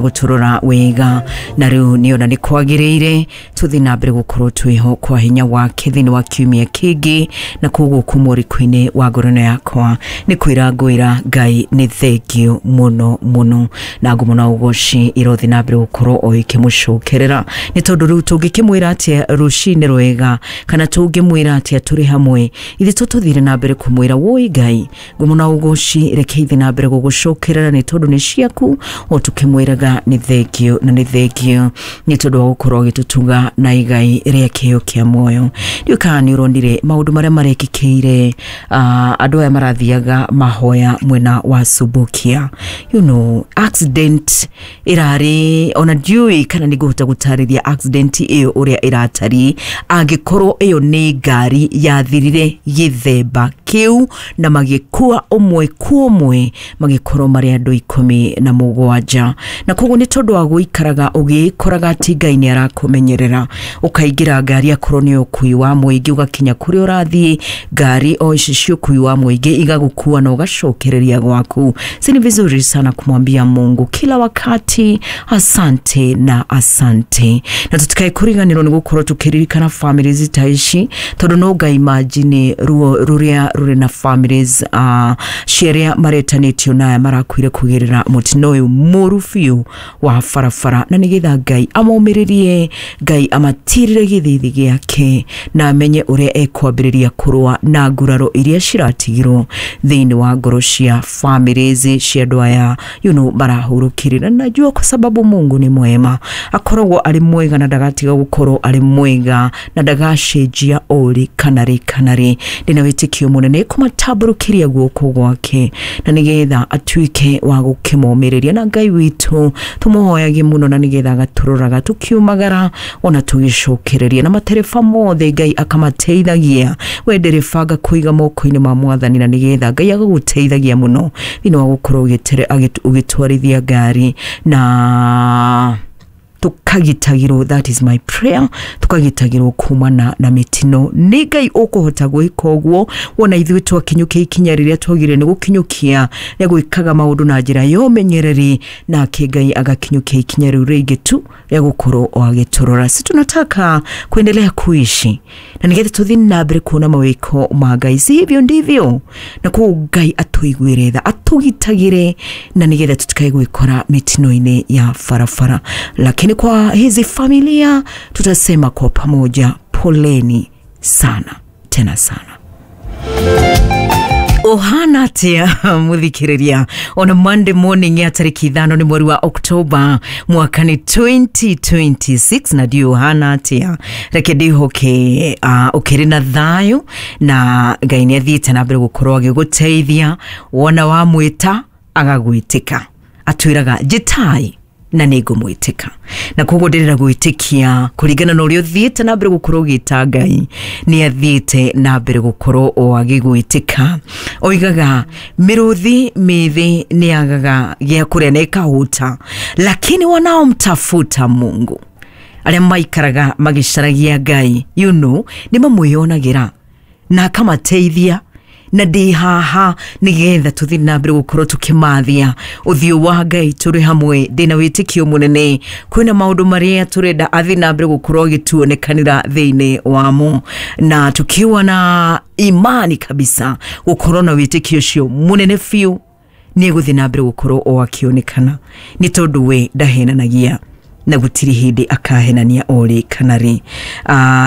Guturora wega na riu niona ni kwagiriire tuthi na mbere gukorwo twiho kwa hinya wake thiini wa kiumia kingi. Na koguo kuma ũrikũ-inĩ wa ngoro ĩno yakwa nĩ kwĩra ngwĩra Ngai nĩ thengio mũno mũno, na ngumo na ũgoci irothi na mbere gũkorwo o ikĩmũcokerera, nĩ tondũ rĩu tũngĩkĩmwĩra atĩa rũcinĩ rwega, kana tũngĩmwĩra atĩa tũrĩ hamwe? Ithuĩ tũtũthire na mbere kũmwĩra woi Ngai, ngumo na ũgoci reke ithiĩ na mbere gũgũcokerera, nĩ tondũ nĩ ciaku, o tũkĩmwĩraga nĩ thengio na nĩ thengio nĩ tondũ wa gũkorwo agĩtũtuga na igai rĩa kĩheo kĩa muoyo. Ndiũĩ kana nĩ ũronire maũndũ marĩa marekĩkĩire andũ aya marathiaga mahoya mwena wa Subukia. Accident ĩrarĩ, ona ndiũĩ kana nĩ ngũhota gũtarĩria accident ĩyo ũrĩa ĩratariĩ, angĩkorwo ĩyo nĩ ngari yathirire gĩthemba kĩu na magĩkua ũmwe kwa ũmwe, magĩkorwo marĩ andũ 17. Na koguo nĩ tondũ wa gũikaraga ũgĩkoraga atĩ Ngai nĩ arakũmenyerera, ũkaingĩra ngari akorwo nĩ ũkui wa mũingĩ, ũgakinya kũrĩa ũrathiĩ, ngari o ici cia ũkui wa mũingĩ igagũkua na ũgacokereria gwaku. Si ni vizuri sana kumwambia Mungu kila wakati asante na asante? Na tutikae kuriganirwo nĩ gũkorwo tũkĩririkana families ta ici, tondũ no nga imagine ruo rũrĩa rũrĩ na families cia arĩa maretanĩtio na aya marakuire kũgerera mũtino ũyũ mũru biũ wa barabara. Na nĩgetha Ngai amomĩrĩrie, Ngai amatirĩre gĩthithi gĩake na amenye ũrĩa ekwambĩrĩria kũrũa na nguraro iria ciratigirwo thĩinĩ wa ngoro cia families cia andũ aya marahurũkire. Na najua kwa sababu Mungu ni mwema, akoragwo arĩ mwega na ndagatiga gũkorwo arĩ mwega na ndagacenjia ũrĩ kana rĩ kana rĩ. Ndĩna wĩtĩkio mũnene kũmatambũrũkĩria guoko gwake na nĩgetha atuĩke wa gũkĩmomĩrĩria. Na Ngai witũ tũmũhoyagie mũno na nĩgetha agatũroraga tũkiumagara ona tũgĩcokereria, na matereba mothe Ngai akamateithagia. We ndereba, ngakũiga moko-inĩ ma Mwathani na nĩgetha Ngai agagũteithagia mũno thĩinĩ wa gũkorwo ũgĩtwarithia ngari na tukagitagirwo. That is my prayer, tukagitagirwo kumana na mitino. Nĩ Ngai ũkũhota gwĩka ũguo. Wona ithuĩ twakinyũkia ikinya rĩrĩa twagĩrĩire nĩ gũkinyũkia rĩa gwĩkaga maũndũ na njĩra ya ũmenyereri, nake Ngai agakinyũkia ikinya rĩu rĩngĩ tu rĩa gũkorwo o agĩtũrora. Si tunataka kuendelea kuishi na nĩgetha tũthiĩ na mbere kuona mawĩko ma Ngai? Si hivyo ndivyo? Na koguo Ngai atũiguĩre tha, atũgitagĩre na nĩgetha tutikae gwĩkora mitino-inĩ ya barabara. Lakini kwa hizi familia tutasema kwa pamoja, poleni sana tena sana. Ũhana atĩa mũthikĩrĩria on a Monday morning ya tarĩki 5 nĩ mweri wa Oktoba, mwaka nĩ 2026? Na ndiũ ũhana atĩa, reke ndĩhoke ũkĩrĩ na thayũ na Ngai nĩ athiĩte na mbere gũkorwo agĩgũteithia. Wona wamwĩta agagwĩtĩka, atwĩraga njĩtai na nĩ ngũmwĩtĩka. Na koguo ndĩrenda gwĩtĩkia kũringana na ũrĩa ũthiĩte na mbere gũkorwo ũgĩta Ngai, nĩ athiĩte na mbere gũkorwo o agĩgwĩtĩka. Oigaga mĩrũthi mĩthĩ nĩ yagaga gĩa kũrĩa na ĩkahũta, lakini wanaomtafuta Mungu, arĩa maikaraga magĩcaragia Ngai, nĩ mamwĩyonagĩra na akamateithia. Na ndĩ haha nĩgetha tũthiĩ na mbere gũkorwo tũkĩmathia ũthiũ wa Ngai tũrĩ hamwe. Ndĩna wĩtĩkio mũnene kwĩna maũndũ marĩa tũrenda athiĩ na mbere gũkorwo agĩtuonekanĩra thĩinĩ wamo, na tukiwa na imani kabisa gũkorwo na wĩtĩkio ũcio mũnene biũ nĩ egũthiĩ na mbere gũkorwo o akĩonekana, nĩ tondũ we ndahenanagia na gũtirĩ hĩndĩ akahenania orĩ kana rĩ.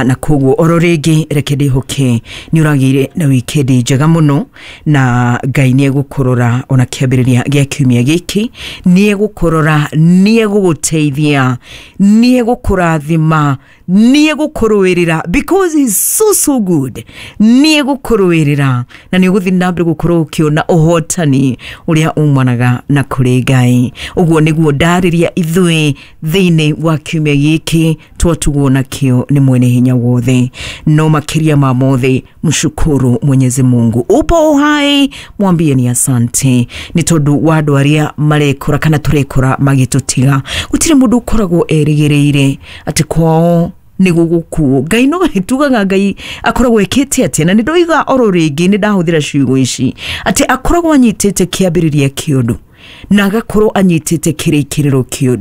Na koguo oro rĩngĩ reke ndĩhoke nĩ ũragĩire na wikendi njega mũno, na Ngai nĩ egũkũrora ona kĩambĩrĩria gĩa kiumia gĩkĩ, nĩ egũkũrora, nĩ egũgũteithia, nĩ egũkũrathima, nĩ egũkũrũĩrĩra, because he's so so good. Nĩ egũkũrũĩrĩra na nĩ ũgũthiĩ na mbere gũkorwo ũkĩona ũhotani ũrĩa umanaga na kũrĩ Ngai. Ũguo nĩguo ndarĩria ithuĩ thĩinĩ wa kiumia gĩkĩ twatugwo nakĩo nĩ mwene hinya wothe. No makĩria ma mothe, mshukuru Mwenyezi Mungu upo uhai, mwambie ni asante, nĩ tondũ wa andũ arĩa marekora kana tũrekora magĩtũtiga. Gũtirĩ mũndũ ũkoragwo erĩgĩrĩire atĩ kwao nĩ gũgũkuo. Ngai no tugaga Ngai akoragwo ekĩte atĩa? Na nĩ ndoiga oro rĩngĩ, nĩ ndahũthĩra ciugo ici atĩ akoragwo anyitĩte kĩambĩrĩria kĩa ũndũ. Na agakorwo anyitĩte kĩrĩkĩrĩro kĩa ũndũ.